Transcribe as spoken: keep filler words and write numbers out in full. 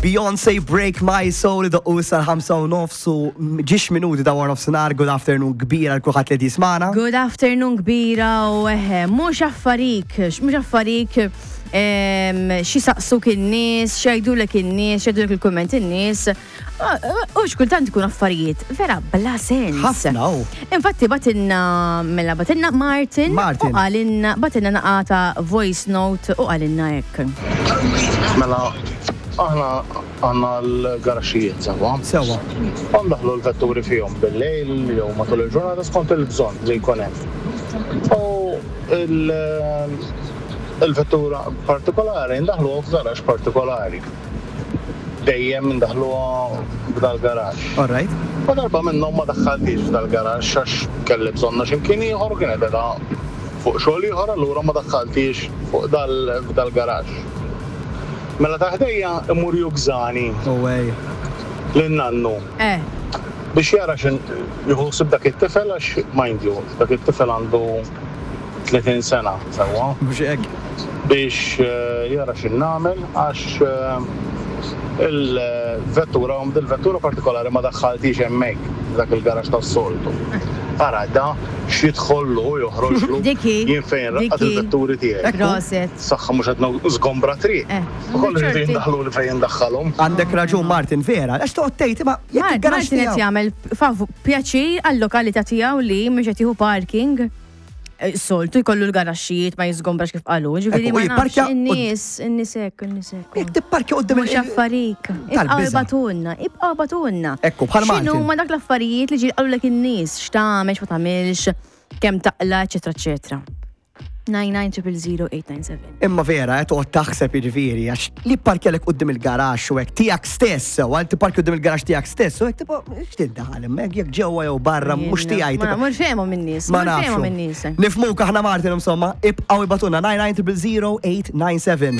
Beyoncé, "Break My Soul", doqqu issa l-ħamsa u nofs u ġiex minuti ta' wara nofsinhar. Good afternoon kbira lil kulħadd li jismagħna. Good afternoon kbira u eħe, mhux affarik, mhux affarik em, xi saqsuk in-nies, x'jgħidulek in-nies, x'jgħidulek il-kumment in-nies. U xkultant ikun affarijiet vera bla sens. Ħafna, u. Infatti bagħtilna, mela bagħtilna Martin, Martin. u qalilna, bagħtilna naqra voice note u qalilna hekk. Mela, aħna għandna l-garaxxijiet sewwa. Sewwa. U ndaħlu l-vetturi fihom bil-lejl jew matul il-ġurnata skont il-bżonn li jkun hemm. U il- il-vettura partikolari ndaħlu f'garax partikolari. Dejjem ndaħluha f'dal-garax. All right. U darba minnhom ma daħħaltix f'dal-garax għax kelli bżonna x'imkien ieħor u kienet qiegħda fuq xogħol ieħor, allura ma daħħaltix fuq dal f'dal-garax. Mela ta' ħdejja imur jużani No way. lin-nannu Eh, biex jara x'in jieħu ħsieb dak it-tifel għax, mind you, dak it-tifel għandu tletin sena sewwa, Mhux hekk. biex eh, jara x'in nagħmel għax eh, il-vettura, il-vettura partikolari ma daħħaltix hemmhekk dak il-garax tas-soltu. Ara da x'jidħollu u joħroġlu Diki, jien fejn raqqat diki. il-vetturi tiegħi. Proset. Saħħa mhux qed żgombra triq. Eh, U kollu jridu ċerti. jindaħlu li fejn jindaħħalhom. Għandek raġun, Martin, vera. Għax toqgħod tgħid ma jekk Mar- il-garax Martin qed tiegħu. jagħmel favu pjaċir għal-lokalità tiegħu li mhux qed jieħu parking. Eh, Soltu jkollu l-garaxxijiet ma jiżgombrax kif qalu, ġifieri Ekku, ma u nafx jipparkja in-nies, in-nies hekk, in-nies hekk. Jekk tipparkja quddiem Mhux il- affarik. Ibqgħu Tal-biża'. ibagħtulna, ibqgħu ibagħtulna. Ekku, bħal X'inhu Martin. ma dak l-affarijiet li ġi qalulek in-nies, x'tagħmel, x'ma tagħmilx, kemm taqla, eċetera, eċetera. nine nine zero zero zero eight nine seven. Imma vera, qed toqgħod taħseb, jiġifieri, għax li parkjalek quddiem il-garax u hekk tiegħek stess, u għal tipparkja quddiem il-garax tiegħek stess, u hekk tipo x'tindaħal hemmhekk jekk ġewwa jew barra mhux tiegħi. Ma tipo- mhux fehmhom in-nies, Ma mhux fehmhom nafx. in-nies. Nifhmuk aħna, Martin, insomma, ibqgħu ibagħtulna nine nine zero zero zero eight nine seven.